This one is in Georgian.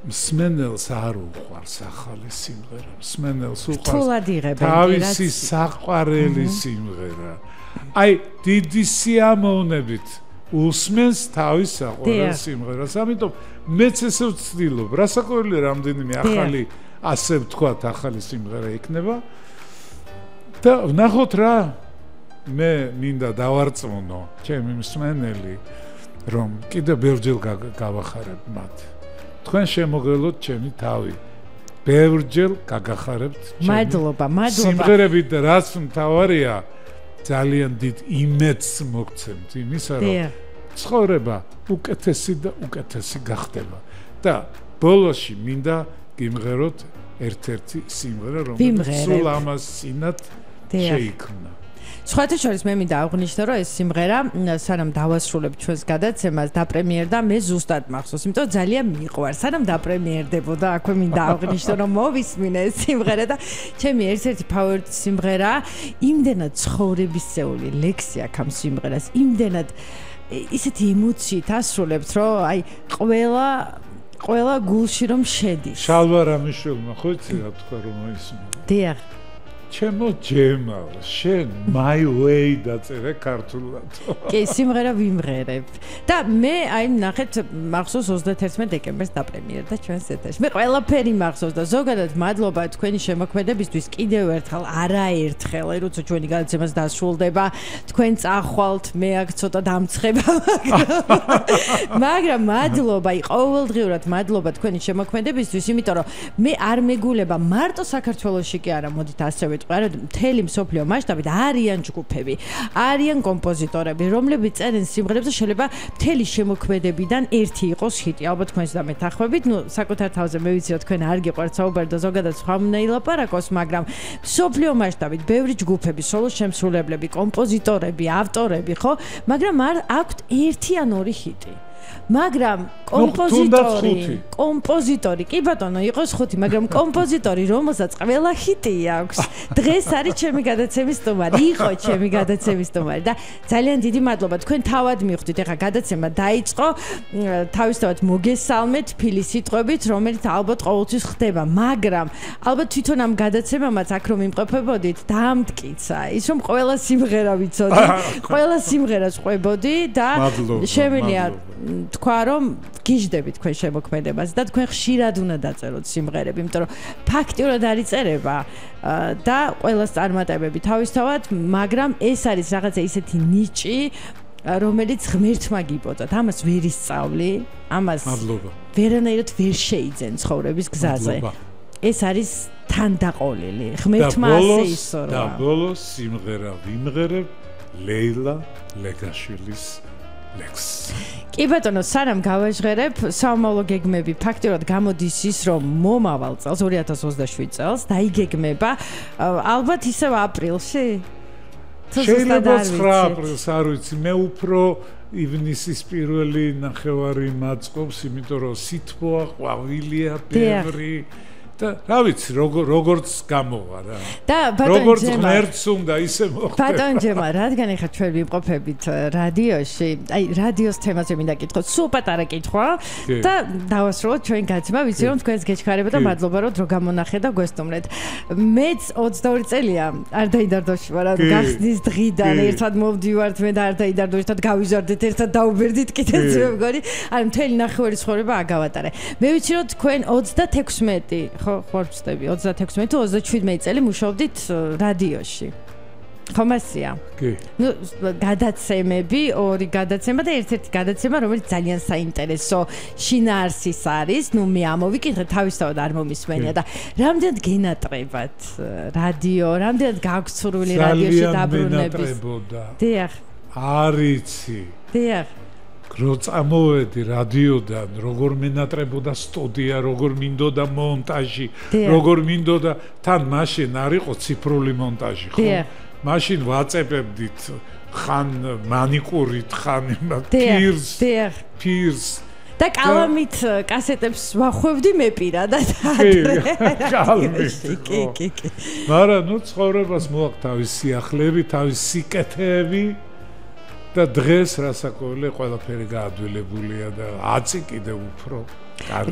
მსმენელს არ უყვარს ახალი სიმღერა. მსმენელს რთულად იღებენ თავისი საყვარელი სიმღერა. აი დიდი სიამოვნებით უსმენს თავის საყვარელ სიმღერას. ამიტომ მეც ესე ვცდილობ. რასაკვირველია რამდენიმე ახალი ასე ვთქვათ ახალი სიმღერა იქნება. და ნახოთ რა მე მინდა დავარწმუნო ჩემი მსმენელი რომ კიდევ ბევრჯერ გავახარებ მათ. თქვენ შემოგელოთ ჩემი თავი. ბევრჯერ გაგახარებთ ჩემი. მადლობა. სიმღერებით და რაც მთავარია ძალიან დიდ იმედს მოგცემთ იმისა რომ ცხოვრება უკეთესი და უკეთესი გახდება. და ბოლოში მინდა გიმღეროთ ერთ-ერთი სიმღერა რომელიც სულ ამას წინათ შეიქმნა. სხვათა შორის მე მინდა აღვნიშნო რომ ეს სიმღერა სანამ დავასრულებ ჩვენს გადაცემას დაპრემიერდა მე ზუსტად მახსოვს იმიტომ ძალიან მიყვარს სანამ დაპრემიერდებოდა აქვე მინდა აღვნიშნო რომ მოვისმინე ეს სიმღერა და ჩემი ერთ-ერთი ფავორიტი სიმღერა იმდენად ცხოვრებისეული ლექსი აქვს ამ სიმღერას იმდენად ისეთი ემოციით ასრულებთ რომ აი ყველა გულში რომ შედის შალვა რამიშვილმა ხო იცი რა თქვა რომ ისმენ დიახ ჩემო ჯემალ, შენ my way დაწერე ქართულად. კი, სიმღერა ვიმღერებ. და მე აი ნახეთ მახსოვს 31 დეკემბერს დაპრემიერდა ჩვენს ეთერში. მე ყველაფერი მახსოვს და ზოგადად მადლობა თქვენი შემოქმედებისთვის კიდევ ერთხელ, არაერთხელ, როცა ჩვენი გადაცემაც დასრულდება, თქვენ წახვალთ, მე აქ ცოტა დამცხება. მაგრამ მადლობა, ყოველდღიურად მადლობა თქვენი შემოქმედებისთვის, იმიტომ რომ მე არ მეგულება მარტო საქართველოში კი არა, მოდით ასევე მთელი მსოფლიო მასშტაბით არიან ჯგუფები, არიან კომპოზიტორები, რომლებიც წერენ სიმღერებს და შეიძლება მთელი შემოქმედებიდან ერთი იყოს ჰიტი. ალბათ თქვენს და მეთანხმებით, საკუთარ თავზე მე ვიცი რომ თქვენ არ გიყვართ საუბარი და ზოგადად სხვა უნდა ილაპარაკოს, მაგრამ მსოფლიო მასშტაბით ბევრი ჯგუფები, სოლო შემსრულებლები, კომპოზიტორები, ავტორები, ხო? მაგრამ არ აქვთ ერთი ან ორი ჰიტი. მაგრამ კომპოზიტორი კი ბატონო იყოს ხუთი მაგრამ კომპოზიტორი რომელსაც ყველა ჰიტი აქვს დღეს არის ჩემი გადაცემის სტუმარი იყო ჩემი გადაცემის სტუმარი და ძალიან დიდი მადლობა თქვენ თავად მიხვდით ეხა გადაცემა დაიწყო თავისთავად მოგესალმეთ ფილის სიტყვებით რომელიც ალბათ ყოველთვის ხდება მაგრამ ალბათ თვითონ ამ გადაცემამაც აქ რომ იმყოფებოდით დაამტკიცა ის რომ ყველა სიმღერა ვიცოდი ყველა სიმღერას ყვებოდი და შემიძლია თქვა რომ გიждდებით თქვენ შემოქმედებას და თქვენ ხშირად უნდა დაწეროთ სიმღერები, იმიტომ რომ ფაქტიურად არის წერება და ყველას წარმატებები თავისთავად, მაგრამ ეს არის რაღაცა ისეთი ნიჭი, რომელიც ღმერთმა გიბოძათ. ამას ვერ ისწავლი, ამას ვერანაირად ვერ შეიძენ ცხოვრების გზაზე. ეს არის თანდაყოლილი. ღმერთმა ასე ისწორა. და ბოლოს სიმღერა ვიმღერებ ლეილა ლეგაშვილის ლექს. კი ბატონო, სანამ გავაჟღერებ, საომავლო გეგმები ფაქტიურად გამოდის ის, რომ მომავალ წელს 2027 წელს დაიგეგმება ალბათ ისევ აპრილში. შეიძლება 9 აპრილს არ ვიცი, მე უფრო ივნისის პირველი ნახევარი მაწყობს, იმიტომ რომ სითბოა, ყვავილია, ბევრი და რა ვიცი როგორც გამოვა რა და როგორც ღმერთს უნდა ისე მოხდება ბატონ ჯემა რადგან ეხლა ჩვენ ვიმყოფებით რადიოში აი რადიოს თემაზე მინდა კითხოთ სულ პატარა კითხვა და დავასრულოთ ჩვენ გადაცემა ვიცი რომ თქვენს გეჩქარება და მადლობა რომ დრო გამონახე და გვესტუმრეთ მეც 22 წელია არ დაიდარდოში ვარ გახსნის დღიდან ერთად მოვდივართ მე და არ დაიდარდო ერთად გავიზარდეთ ერთად დაუბერდით კიდეც მე მგონი არ მთელი ნახევარი ცხოვრება აგავატარე მე ვიცი რომ თქვენ 36 ხო ვწდები 36 თუ 37 წელი მუშაობდით რადიოში. ხომ ასია? კი. ნუ გადაცემები, ორი გადაცემა და ერთ-ერთი გადაცემა, რომელიც ძალიან საინტერესო შინაარსის არის. ნუ მე ამოვიკითხე თავისთავად არ მომისმენია და რამდენად გენატრებათ რადიო, რამდენად გაქვთ სურვილი რადიოში დაბრუნების. დიახ. არიცი. დიახ. რო წამოვედი რადიოდან, როგორ მენატრებოდა სტუდია, როგორ მინდოდა მონტაჟი, როგორ მინდოდა თან მაშინ არ იყო ციფრული მონტაჟი, ხო? მაშინ ვაწებებდით ხან მანიკურით, ხან პირს. და კალამით კასეტებს ვახვევდი მე პირადად. კი. მაგრამ ნუ ცხოვრებას მოაქვს თავისი სიახლეები, თავისი სიკეთეები. და დღეს რასაკვირველია ყველაფერი გაადვილებულია და აწი კიდევ უფრო კარგი